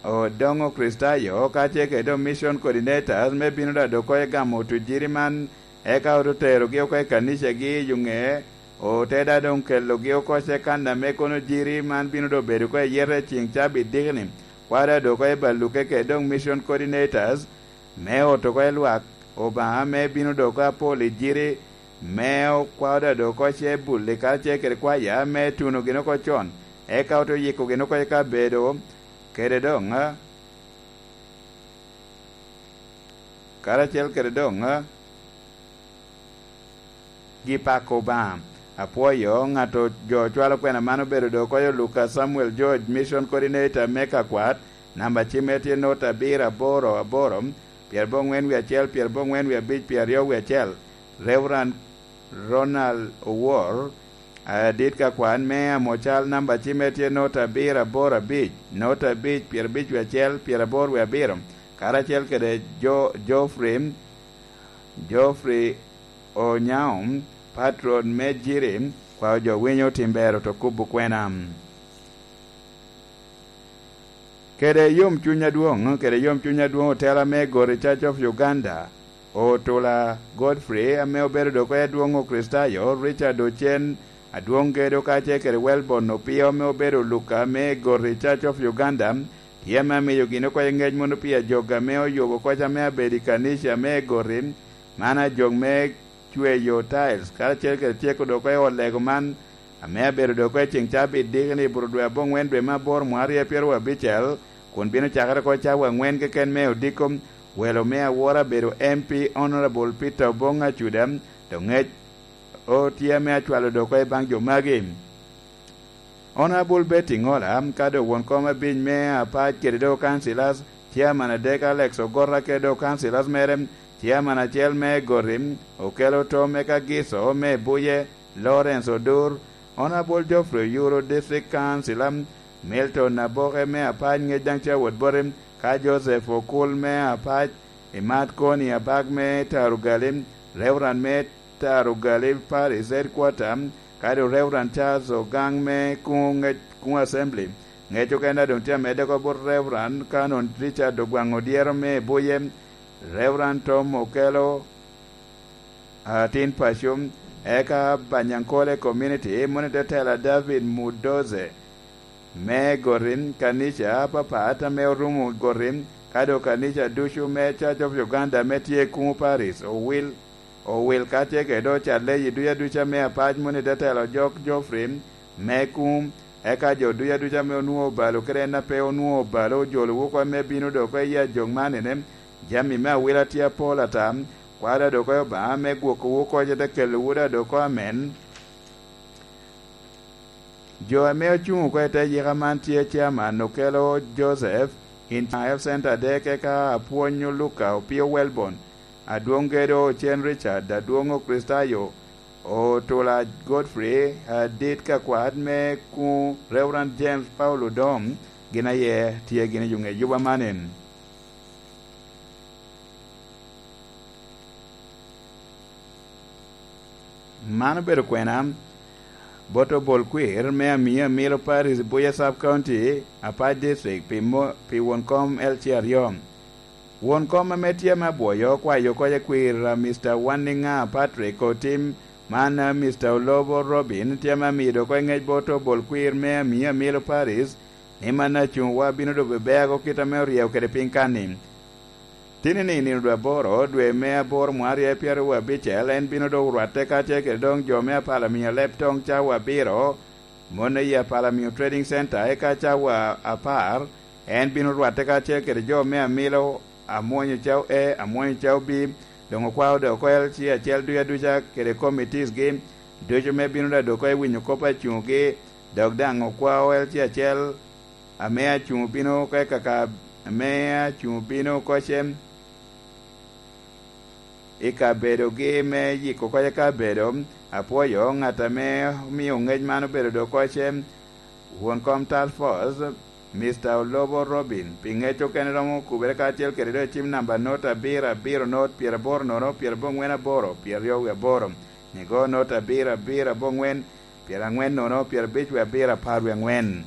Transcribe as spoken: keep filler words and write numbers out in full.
Odoŋo Kricitayo, ka tye kede doŋ mission coordinators, me bino daŋ dok oko i gamo tujiri man, eka ote terogi oko i kanicagi i Yuŋe, ote daŋ doŋ kelogi oko ce kan ame kono jiri man bino doŋ bedo oko i yete i ceŋ cabit diki-ni, kwao daŋ dok oko i baluke kede doŋ mission coordinators, me oto oko i lwak Obaŋa, me bino doŋ oko apol i jiri, me okwao daŋ dok oko ce bulli karacel kede kwaya, me tuno gin oko con, eka ote yiko gin oko i kabedo, kede doŋ, karacel kede doŋ, gi pako Obaŋa. Apwoyo ŋat jo cwalo kwena man obedo doŋ oko i Luka Samuel George, Mission Coordinator me Kakwat, namba cimme tye not abiro aboro aboro, pyerabongwen wie acel, pyerabongwen wie abic, pyeraryo wie acel. Reverend Ronald Owor, adit ka kwan me Amocal, namba cimme tye not abiro aboro abic, not abic, pyerabic wie acel, pyeraboro wie abiro, karacel kede Jo-, Geoffrey, Geoffrey Onyaum, patron me Jiri, kwao jo winyo tim ber oto kubo kwena. Kede yomcuny adwoŋ, kede yomcuny adwoŋ otela me Goti Church of Uganda, Otula Godfrey, ame obedo doŋ oko i adwoŋ Okricitayo, Richard Ocen, adwoŋ gedo kacel kede Welbon Opio, ame obedo Luka me Goti Church of Uganda, tye ame amiyo gin oko i ŋec mono pi ajog ame oyubo koc ame abedo i kanica me Goti, man ajog me cweyo tiles, karacel kede tyeko doŋ oko i ot lego man, ame abedo doŋ oko i ceŋ cabit diki-ni i buto dwe aboŋwen dwe me aboro mwaka aryo pyeraryo abicel, kun bino cakere oko cawa aŋwen keken me odiko. Welo me awora abedo M P Honorable Peter Obong Acuda, doŋ ŋec otye ame acwalo doŋ oko i baŋ jo magi. Honorable Betty Ŋola, ka doŋ won kom abic me apac kede doŋ councillors, chairman adek Alex Ogota kede doŋ councillors mere, chairman acel me Goti, Okello Tom, eka Giso me Buye, Lawrence Odur, Honorable Geoffrey Oyuru, District Councillor, Milton Aboke me apac ŋec daŋ tye awot boti, ka Joseph Okul me apac, Imat Koni Abak me Tarugali, Reverend me Tarugali Parish Headquarter, kadi Reverend Charles Ogang me Kuŋ, Kuŋ Assembly. Ŋec okene doŋ tye amedde oko bot Reverend Canon Richard Ogwaŋ Odyero me Buye, Reverend Tom Okello, atin paco, eka Banyankole Community, moni te tela David Mudoze, me Goti, kanica apapat ame orumo Goti, ka doŋ kanica ducu me Church of Uganda ame tye i Kuŋu Parish, owil, owil kacel kede ocalle i duca duca me apac, moni te tela Ojok Geoffrey me Kuŋu, eka jo duca duca ame onwoŋo obalo kede en a pe onwoŋo obalo, ojolowu oko me bino doŋ oko i ajok man ene, jami me awila tye apol ata, kwalo doŋ oko i Obaŋa me gwokowu oko, ce te kelowu daŋ doŋ oko amen. Jo ame ocuŋ oko i te yika man tye Chairman Okello Joseph, in Health Center adek, eka Apwony Luka Opio Welbon, adwoŋ gedo Ocen Richard, adwoŋ Okricitayo, Otula Godfrey, adit ka kwat me Kuŋ Reverend James Paul Odom, gin aye tye gin i yuŋ ejuba man en. Man obedo kwena bot obol kwir me Amio Amilo Parish, Buya Sub County, Apac District, pi mo-, pi won kom L C aryo. Won kom ame tye ame abwoyo okwayo oko i kwir, a, Mister Wanninga Patrick Otim, man, a, Mister Olobo Robin tye ame amido oko i ŋec bot obol kwir me Amio Amilo Parish, ni man acuŋwa bino doŋ bebeago kit ame oryeyo kede piny kan-ni. Tinini, nino dwe aboro, dwe me aboro, mwaka aryo pyeraryo abicel, en bino doŋ orwatte kacel kede doŋ jo me apala miya leb toŋ cawa abiro, mon aye apala miyo Trading Center, eka cawa apar, en bino rwatte kacel kede jo me amilo, amwonyo cawa A, amwonyo cawa B, doŋ okwao doŋ oko L C acel duca duca kede committees gi ducu me bino daŋ doŋ oko i winyo kop acuŋgi, dok daŋ okwao L C acel ame acuŋ obino oko i kaka, ame acuŋ obino oko cem i kabedogi me yiko oko i kabedo. Apwoyo ŋat ame omio ŋec man obedo doŋ oko cem, won kom Task Force, Mister Olobo Robin, pi ŋec okene romo okubere kacel kede doŋ cim namba not abiro abiro not pyeraboro nono pyerabongwen aboro pyeraryo wie aboro, nigo not abiro abiro abongwen pyeraŋwen nono pyerabic wie abiro apar wie aŋwen.